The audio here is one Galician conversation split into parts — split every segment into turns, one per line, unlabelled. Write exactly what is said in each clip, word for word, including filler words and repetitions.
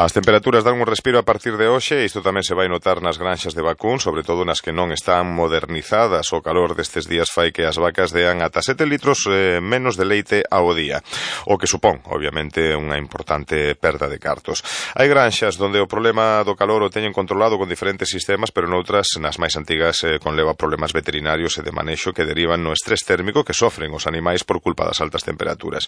As temperaturas dan un respiro a partir de hoxe e isto tamén se vai notar nas granxas de vacún, sobre todo nas que non están modernizadas. O calor destes días fai que as vacas dean ata sete litros eh, menos de leite ao día, o que supón, obviamente, unha importante perda de cartos. Hai granxas donde o problema do calor o teñen controlado con diferentes sistemas, pero noutras, nas máis antigas, eh, conleva problemas veterinarios e de manexo que derivan no estrés térmico que sofren os animais por culpa das altas temperaturas.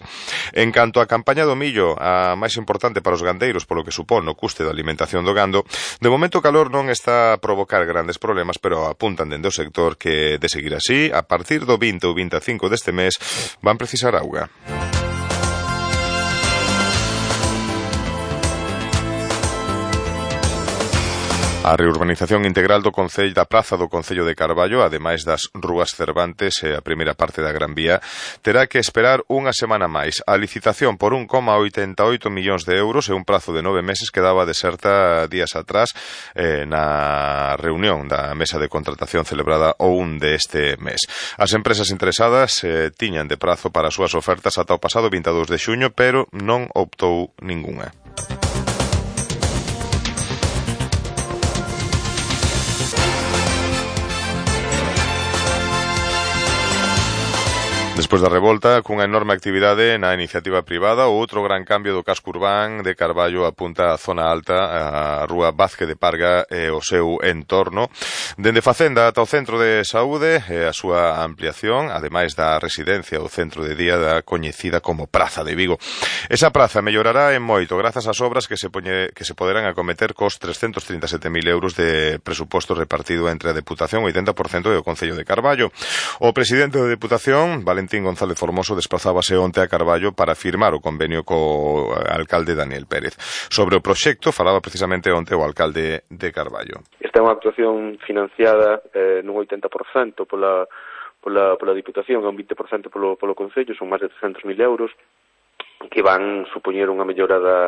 En canto á campaña do millo, a máis importante para os gandeiros polo que supón o custe da alimentación do gando, de momento o calor non está a provocar grandes problemas, pero apuntan dende o sector que, de seguir así, a partir do vinte ou vinte e cinco deste mes, van precisar auga. A reurbanización integral do Concello da Praza do Concello de Carballo, ademais das rúas Cervantes e a primeira parte da Gran Vía, terá que esperar unha semana máis. A licitación por un coma oitenta e oito millóns de euros e un prazo de nove meses quedaba deserta días atrás eh, na reunión da mesa de contratación celebrada o un deste mes. As empresas interesadas eh, tiñan de prazo para as súas ofertas ata o pasado vinte e dous de xuño, pero non optou ningunha. Despois da revolta, cunha enorme actividade na iniciativa privada, o outro gran cambio do casco urbán de Carballo apunta a zona alta, a rúa Vázquez de Parga e o seu entorno. Dende Facenda ata o centro de saúde e a súa ampliación, ademais da residencia ou centro de día da coñecida como Praza de Vigo. Esa praza mellorará en moito grazas ás obras que se, poñe, que se poderán acometer cos trescentos trinta e sete mil euros de presuposto repartido entre a Deputación, o oitenta por cento, e o Concello de Carballo. O presidente da Deputación, Valentín González Formoso, desplazábase onte a Carballo para firmar o convenio co alcalde Daniel Pérez. Sobre o proxecto falaba precisamente onte o alcalde de Carballo.
Esta é unha actuación financiada eh, nun oitenta por cento pola, pola, pola Diputación e un vinte por cento polo, polo Concello, son máis de trescentos mil euros, que van supoñer unha mellora da,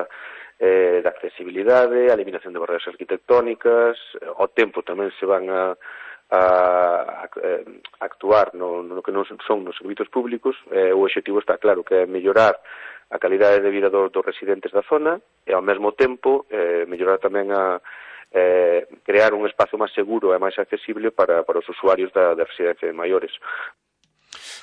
eh, da accesibilidade, a eliminación de barreras arquitectónicas, ao tempo tamén se van a a, a, a actuar no, no que non son nos servizos públicos. Eh, o objetivo está claro, que é mellorar a calidade de vida dos, dos residentes da zona e ao mesmo tempo eh, mellorar tamén a eh, crear un espazo máis seguro e máis accesible para, para os usuarios da, da residencia de maiores.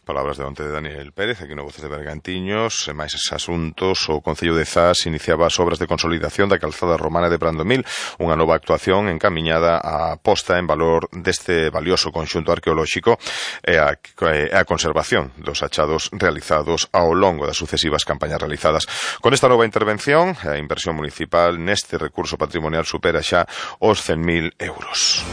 Palabras de onte de Daniel Pérez, aquí no Voces de Bergantiños. E máis asuntos, o Concello de Zas iniciaba as obras de consolidación da calzada romana de Brandomil, unha nova actuación encamiñada á posta en valor deste valioso conxunto arqueolóxico e a, e a conservación dos achados realizados ao longo das sucesivas campañas realizadas. Con esta nova intervención, a inversión municipal neste recurso patrimonial supera xa os cen mil euros.